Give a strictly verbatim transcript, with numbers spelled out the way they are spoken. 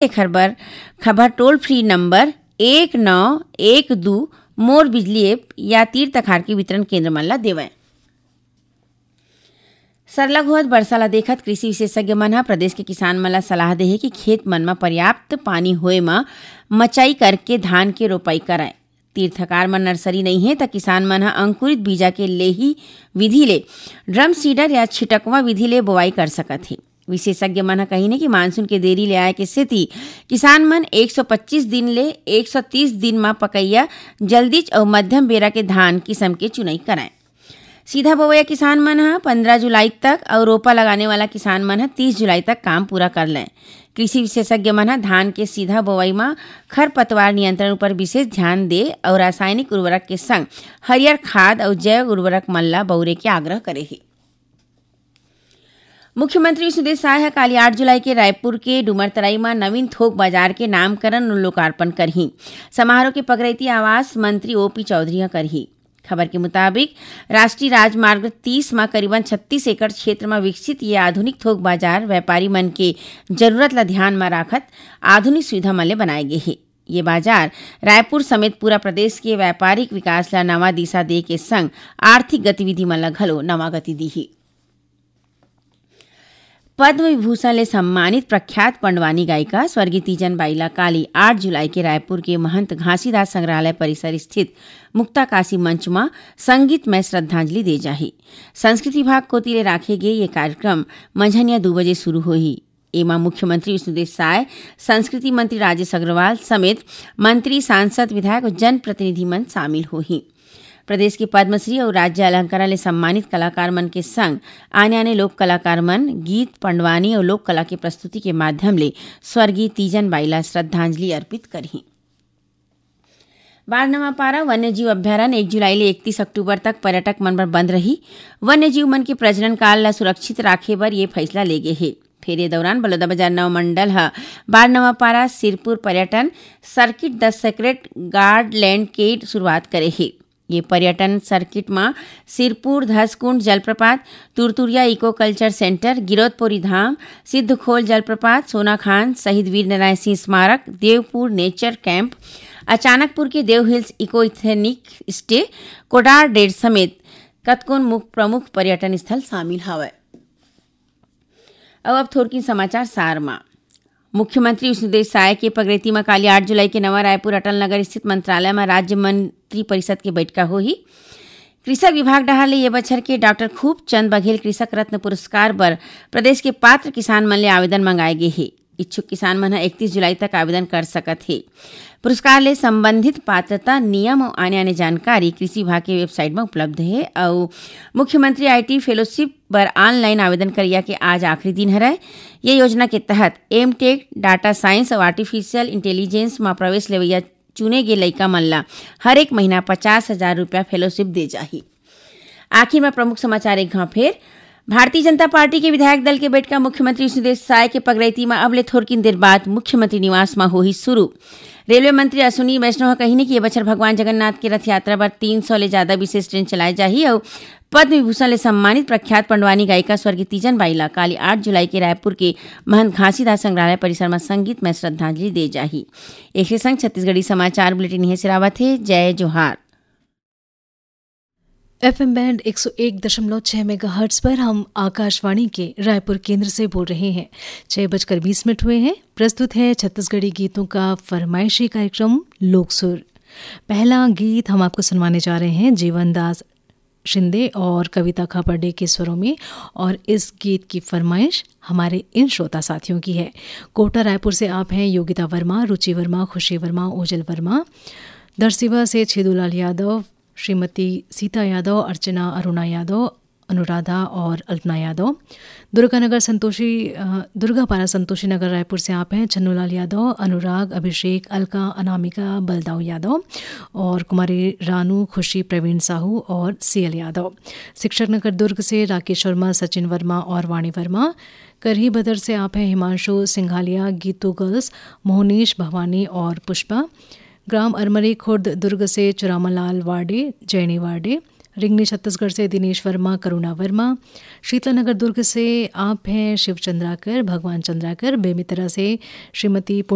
एखर बर खबर टोल फ्री नंबर एक नौ एक दू मोर बिजली ऐप या तीर तखार के वितरण केंद्र मन ला देवय। सरलग होवत बरसा ला देखत कृषि विशेषज्ञ मन ह प्रदेश के किसान मन ला सलाह दे हे कि खेत मन म पर्याप्त पानी होए म मचई करके धान के रोपाई करय। तीर तखार म नर्सरी नइ हे, त किसान मन ह अंकुरित बीजा के लेही विधि ले, ड्रम सीडर या छिटकवा विधि ले बोआई कर सकत हे। विशेषज्ञ मन ह कहिन हे कि मानसून के देरी ले आए के सेती किसान मन एक सौ पच्चीस दिन ले एक सौ तीस दिन म पकइया जल्दीच अउ मध्यम बेरा के धान किसम के चुनई करय। सीधा बोवइया किसान मन ह पंद्रह जुलाई तक अउ रोपा लगाने वाला किसान मन ह तीस जुलाई तक काम पूरा कर लें। कृषि विशेषज्ञ मन ह धान के सीधा बोवई म खरपतवार नियंत्रण उपर विशेष ध्यान दे अउ रासायनिक उर्वरक के संग हरियर खाद अउ जैव उर्वरक मन ल बउरे के आग्रह करे हे। मुख्यमंत्री विष्णुदेव साय ह काली आठ जुलाई के रायपुर के डूमरतराई म नवीन थोक बाजार के नामकरण अउ लोकार्पण करही। समारोह के पगरैती आवास मंत्री ओपी चौधरी ह करही। खबर के मुताबिक, राष्ट्रीय राजमार्ग तीस म करीबन छत्तीस एकड़ क्षेत्र म विकसित ये आधुनिक थोक बाजार व्यापारी मन के जरूरत ल ध्यान म राखत आधुनिक सुविधा मन ले बनाए गे हे। ये बाजार रायपुर समेत पूरा प्रदेश के व्यापारिक विकास ल नवा दिशा दे के संग आर्थिक गतिविधि मन ल घलो नवा गति दीही। पद्म विभूषण ले सम्मानित प्रख्यात पंडवानी गायिका स्वर्गीय तीजन बाई ला काली आठ जुलाई के रायपुर के महंत घासीदास संग्रहालय परिसर स्थित मुक्ताकाशी मंच म संगीतमय श्रद्धांजलि दे जाही। संस्कृति विभाग कोति ले राखे गे ये कार्यक्रम मंझनिया दू बजे शुरू होही। एमा मुख्यमंत्री विष्णुदेव साय, संस्कृति मंत्री राजेश अग्रवाल समेत मंत्री, सांसद, विधायक अउ जनप्रतिनिधि मन शामिल होही। प्रदेश के पद्मश्री अउ राज्य अलंकरण ले सम्मानित कलाकार मन के संग आने-आने लोक कलाकार मन गीत, पंडवानी अउ लोक कला के प्रस्तुति के माध्यम ले स्वर्गीय तीजन बाई ला श्रद्धांजलि अर्पित करही। बारनवापारा वन्यजीव अभ्यारण्य एक जुलाई ले इकतीस अक्टूबर तक पर्यटक मन बर बंद रही। वन्यजीव मन के प्रजनन काल ला सुरक्षित राखे बर ये फैसला ले गे हे। फेर ये दौरान बलौदाबाजार नवा मंडल ह बारनवापारा सिरपुर पर्यटन सर्किट द सेक्रेड गार्डलैंड के शुरुआत करे हे। ये पर्यटन सर्किट म सिरपुर धसकुंड जलप्रपात, Turturiya eco culture centre, Giraudpuri Dham, Siddhkhol जलप्रपात, सोनाखान, शहीद वीर नारायण सिंह स्मारक, देवपुर नेचर कैंप, अचानकपुर के Dev hills eco ethnic stay, Kodar डेड समेत कतकोन मुख, प्रमुख पर्यटन स्थल शामिल हवय। अउ अब थोरकिन समाचार सार म। मुख्यमंत्री विष्णुदेव साय के पगरेती म काली आठ जुलाई के नवा रायपुर अटल नगर स्थित मंत्रालय म राज्य मंत्री परिषद के बैठका होही। कृषक विभाग डहार ले ये बछर के डॉक्टर खूबचंद बघेल कृषक रत्न पुरस्कार बर प्रदेश के पात्र किसान मन ले आवेदन मंगाए गे हे। इच्छुक किसान मन ह इकतीस जुलाई तक आवेदन कर सकत हे। पुरस्कार ले संबंधित पात्रता, नियम अउ आने-आने जानकारी कृषि विभाग के वेबसाइट म उपलब्ध हे अउ मुख्यमंत्री आईटी फेलोशिप बर ऑनलाइन आवेदन करइया के आज आखिरी दिन हरय। ये योजना के तहत एमटेक, डाटा साइंस अउ आर्टिफिशियल इंटेलिजेंस म प्रवेश लेवइया चुने गे लइका मन ला हर एक महीना पचास हजार रुपया फेलोशिप दे जाही। आखिर म प्रमुख समाचार एक घांव फेर। भारतीय जनता पार्टी के विधायक दल के बैठका मुख्यमंत्री विष्णुदेव साय के पगरैती म अब ले थोरकिन देर बाद मुख्यमंत्री निवास म होही शुरू। रेलवे मंत्री अश्विनी वैष्णव ह कहिन कि ये बछर भगवान जगन्नाथ के रथ यात्रा बर तीन सौ ले जादा विशेष ट्रेन चलाए जाही अउ पद्म विभूषण ले सम्मानित प्रख्यात पंडवानी गायिका स्वर्गीय तीजन बाई ला काली आठ जुलाई के रायपुर के महंत घासीदास संग्रहालय परिसर म संगीतमय श्रद्धांजलि दे जाही। एखरे संग छत्तीसगढ़ी समाचार बुलेटिन इहें सिरावत हे। जय जोहार। एफएम बैंड एक सौ एक दशमलव छह मेगाहर्ट्ज पर हम आकाशवाणी के रायपुर केंद्र से बोल रहे हैं। छह बजकर बीस मिनट हुए हैं। प्रस्तुत है छत्तीसगढ़ी गीतों का फरमाइशी कार्यक्रम लोकसुर। पहला गीत हम आपको सुनवाने जा रहे हैं जीवन दास शिंदे और कविता खापर्डे के स्वरों में, और इस गीत की फरमाइश हमारे इन श्रोता साथियों की है। कोटा रायपुर से आप हैं योगिता वर्मा, रुचि वर्मा, खुशी वर्मा, ओजल वर्मा। दरसिवा से छेदूलाल यादव, श्रीमती सीता यादव, अर्चना अरुणा यादव, अनुराधा और अल्पना यादव। दुर्गानगर संतोषी, अ, दुर्गापारा संतोषी नगर रायपुर से आप हैं छन्नूलाल यादव, अनुराग, अभिषेक, अलका, अनामिका, बलदाऊ यादव और कुमारी रानू, खुशी, प्रवीण साहू और सीएल यादव। शिक्षक नगर दुर्ग से राकेश वर्मा, सचिन वर्मा और वाणी वर्मा। करही बदर से आप हैं हिमांशु सिंघालिया, गीतू गर्ल्स, मोहनीश, भवानी और पुष्पा। ग्राम अरमरी खुर्द दुर्ग से चुरामालाल वाडे, जैनी वाडे। रिंगनी छत्तीसगढ़ से दिनेश वर्मा, करुणा वर्मा। शीतला नगर दुर्ग से आप हैं शिव चंद्राकर, भगवान चंद्राकर। बेमेतरा से श्रीमती